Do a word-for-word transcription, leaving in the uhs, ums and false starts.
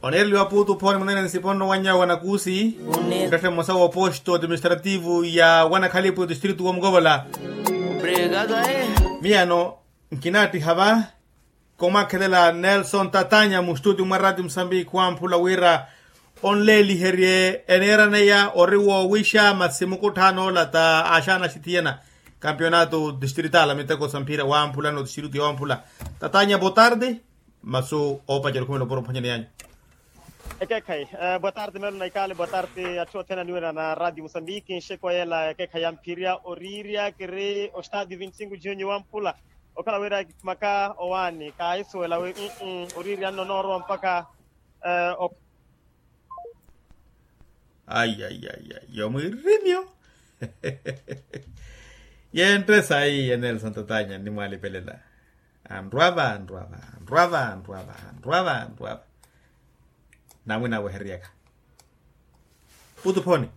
Oneereliwa puutu phone munene nsiponno wanyawo wanakuusi. Nrette mmosa w'oposto administrativo ya wanakhalipu distritu wa mukovola. Miyano nkinaattiha va komakhelela nelson tatanya mustutio mwa rati musambiki wamphula wira onleeliherye eneeraneya ori woowixa masi mukutthaano ola ta axaana axithiyana. Kampionato distritala miteko sa mphira wamphula no distritio wamphula. Tatanya botardi. Masu oopacerya okhumela opuro mphwanyani yanyu. Ekeekhayi. Boa tarde melo na ikaale boa tarde atthu othene aniwira na radio musambiki nxeko yela ekeekhayi yamphirya oriirya kiri ostadio vinti cinco junio wamphula. Okhala wira kikhumaka owaani kaahisuwela wi oriirya nno noorowa mpakha. Ayi ayi ayi ayi omwirimyo. Yenttesa ayi ya nelson tatanya nnimwaalipelela. Anrwava anrwava anrwava anrwava anrwava anrwava. Namwina aweheryaka. Putu phoni.